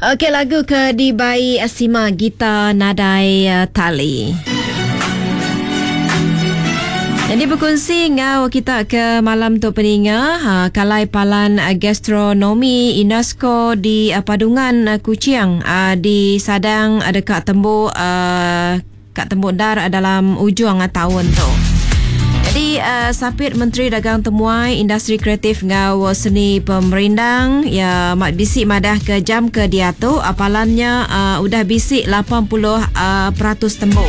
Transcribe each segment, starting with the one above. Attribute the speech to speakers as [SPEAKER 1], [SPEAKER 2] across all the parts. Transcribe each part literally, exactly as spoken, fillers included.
[SPEAKER 1] Okey, lagu ke dibai Sima Gita Nadai Tali. Jadi berkongsi ngau kita ke malam tu peninga, ha, kalai palan gastronomi UNESCO di Padungan Kuching di Sadang dekat tembu kat tembu dar dalam ujung tahun tu. Jadi uh, Sapit Menteri Dagang Temuai Industri Kreatif ngau Seni Pemerindang ya mak bisi madah ke jam ke dia tu apalannya uh, udah bisi lapan puluh peratus tembu.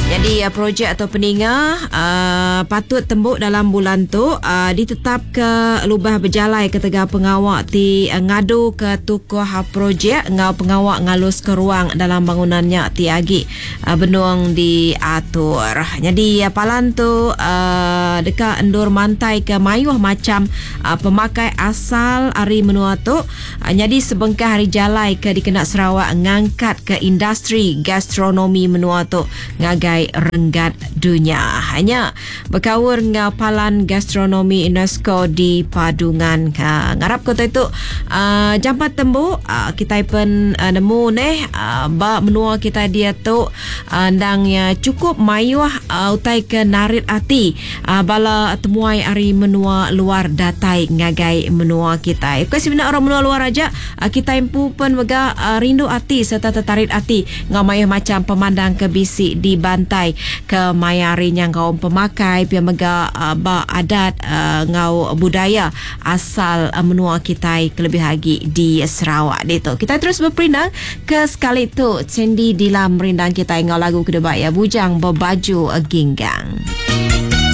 [SPEAKER 1] Jadi uh, projek atau peninga uh, patut tembuk dalam bulan tu uh, ditetap ke lubah berjalai ketegak pengawak ti uh, ngadu ke tukuh uh, projek ngau pengawak ngalus ke ruang dalam bangunannya ti agi uh, benuang diatur. Jadi uh, palan tu uh, dekat endur mantai ke mayuh macam uh, pemakai asal ari menua tu uh, jadi sebengkah hari jalai ke dikena Sarawak ngangkat ke industri gastronomi menua tu ngagai renggat dunia. Hanya berkawur ngau palan gastronomi UNESCO di Padungan. Ha, ngarap kota itu uh, jampat tembu uh, kita pun uh, nemu neh uh, ba menua kita dia tu uh, ndang ya cukup mayuh uh, utai ke narit ati uh, bala temuai ari menua luar datai ngagai menua kita. Bukan sebenarnya orang menua luar aja uh, kita empu pun mega uh, rindu ati serta tertarik ati ngau mayuh macam pemandang ke bisi di bantai ke mayari nyang kaum pemakai pia mega uh, ba adat uh, ngau budaya asal uh, menua kita kelebih lagi di Sarawak ditu. Kita terus berperindang ke sekali tu Sandy Dilam merindang kita ngau lagu kedua ya Bujang Berbaju Ginggang.